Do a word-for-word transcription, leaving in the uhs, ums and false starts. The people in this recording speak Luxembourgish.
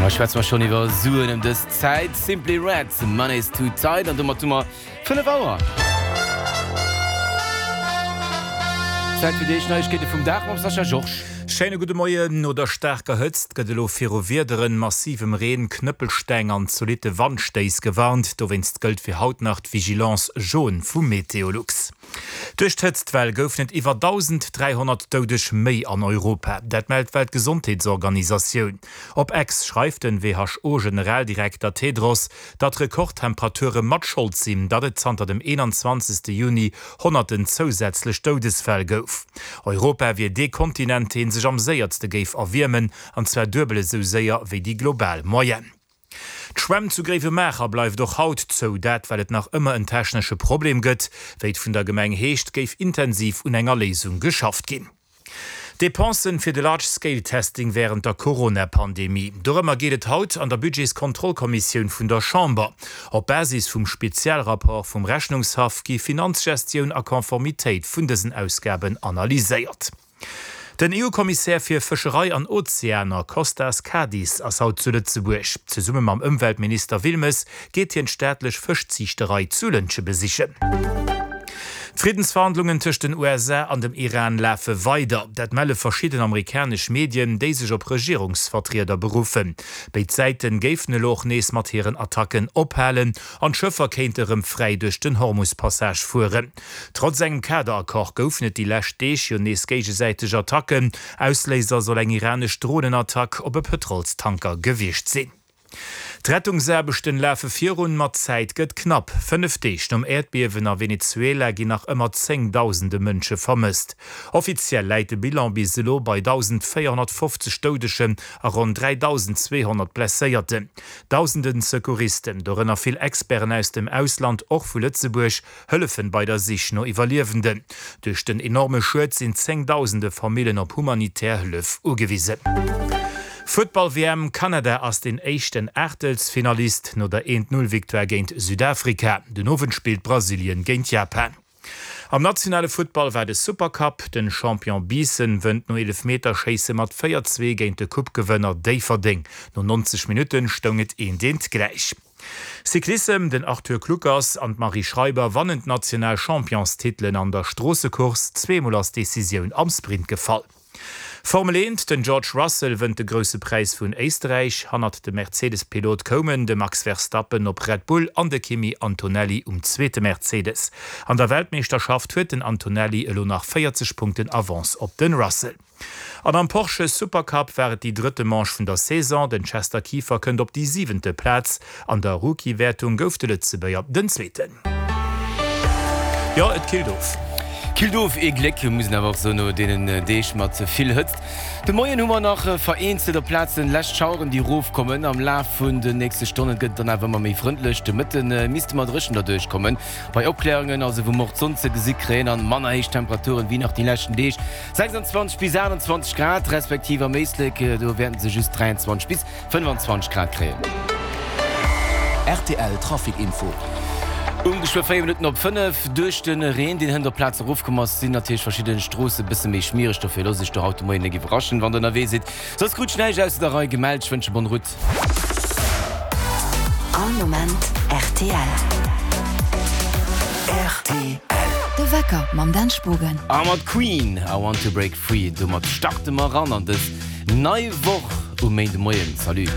Da schwätze mer schonn iwwer Suen ëm dës Zäit. Simply Red, Money's Too Tight an domat hu mer fënnef Auer. Zäit fir déi éischt Neiegkeete vum Dag mam Sascha Georges. Schéine gudde Moien. No der staarker Hëtzt gëtt elo viru Wiederen, massivem Reen, Knëppelsteng an zolitte Wandstéiss gewarnt. Dowéinst gëllt fir haut nach d'Vigilance jaune vu Meteolux. Duerch d'Hëtztwell goufen et iwwer dausend dräihonnert Doudeg méi an Europa. Dat mellt d'Weltgesondheetsorganisatioun. Op X schreift den W H O-Generaldirekter Tedros, datt Rekordtemperature mat Schold sinn, datt et zanter dem eenanzwanzegste Juni honnerten zousätzlech Doudesfäll gouf. Europa wier dee Kontinent, dee sech am séierste géif erwiermen, an zwar duebel esou séier wéi déi global Moyenne. D'Schwämm zu Gréiwemaacher bleift och haut zou, dat well et nach ëmmer en technesche Problem gëtt. Wéi et vun der Gemeng heescht, géif intensiv un enger Léisung geschafft ginn. Depensen fir de Large-Scale-Testing wärend der Corona-Pandemie. Dorëmmer geet et haut an der Budgetskontrollkommissioun vun der Chamber. Op Basis vum Spezialrapport vum Rechnungshaff gi Finanzgestioun a Konformitéit vun dësen Ausgaben analyséiert. Den E U-Kommissär fir Fëscherei an Ozeaner Kostas Kadis ass haut zu Lëtzebuerg. Zesumme mam Ëmweltminister Wilmes geet hien d'staatlech Fëschziichterei zu Lëntge besichen. D'Friddensverhandlungen tëscht den U S A an dem Iran lafe weider. Dat melle verschidden amerikanesch Medien, déi sech op Regierungsvertrieder beruffen. Béid Säite géifen elo och nees mat hiren Attacken ophalen an d'Schëffer kéinte rëm fräi duerch den Hormus-Passage fueren. Trotz engem Kaderaccord goufen et déi lescht Deeg jo nees géigesäiteg Attacken. Ausléiser soll eng iranesch Dronenattack op e Pëtrolstanker gewiescht sinn. D'Rettungsaarbechten lafe virun, ma d'Zäit gëtt knapp. Fënnef Deeg nom Äerdbiewen a Venezuela ginn nach ëmmer zéngdausende Mënsche vermësst. Offiziell läit de Bilan bis elo bei dausendvéierhonnertfofzeg Doudegen a ronn dräidausendzweehonnert Blesséierten. Dausende Secouristen, dorënner vill Experten aus dem Ausland, och vu Lëtzebuerg, hëllefen bei der Sich no Iwwerliewenden. Duerch den enorme Schued sinn zéngdausende Famillen op humanitär Hëllef ugewisen. Futtball-W M, Kanada ass den éischten Aachtelsfinalist no der eent-null-Victoire géint Südafrika. Den Owend spillt Brasilien géint Japan. Am nationale Futtball war de Supercup, den Champion Biissen wënnt no Eelefmeterschéisse mat véier zwee géint de Coupe-Gewënner Déifferdeng. No neunzeg Minutten stoung et eent eent gläich. Cyclissem, Den Arthur Kluckers an d'Marie Schreiber wannen d'national Championstitelen an der Stroossecourse, zweemol ass d'Decisioun am Sprint gefall. Formel eent, Den George Russell wënnt de Grousse Präis vun Éisterräich. Hannert dem Mercedes-Pilot koumen de Max Verstappen op Red Bull an de Kimi Antonelli um zweete Mercedes. An der Weltmeeschterschaft huet den Antonelli elo nach véierzeg Punkten Avance op den Russell. An am Porsche Supercup war et déi drëtte Manche vun der Saison. Den Chester Kieffer kënnt op déi siwente Plaz. An der Rookie-Wäertung gouf de Lëtzebuerger den Zweeten. Jo, et killt of. Killt of, ee Gléck, muss een awer och soen, no deenen Deeg mat vill Hëtzt. De Moien hu mer nach vereenzelt op Plazen lescht Schaueren, déi erofkommen. Am Laf vun den nächste Stonnen gëtt et dann awer ëmmer méi frëndlech. De Mëtte misste mer dréchen derduerch kommen. Bei Opkläerungen, also wou mer och d'Sonn ze gesi kréien, an manner héich Temperaturen wéi nach déi leschten Deeg, sechsanzwanzeg bis aachtanzwanzeg Grad, respektiv am Éislek, do wäerten se just dräianzwanzeg bis fënnefanzwanzeg Grad kréien. R T L Trafic Info. Um geschwë véier Minutten op fënnef. Duerch de Reen, deen hënt op Plazen erofkomm ass, sinn natierlech verschidde Stroosse bësse méi schmiereg. Dofir loosst iech do haut de Moien net iwwerraschen, wann der ënnerwee sidd. Soss krut ech näischt ausser der Rei gemellt. Ech wënsche bonne route. All Moment R T L. R T L. De Wecker mam Dan Spogen. A mat Queen, I Want to Break Free. Domat starte mer eran an dës nei Woch um Méindemoien. Salut.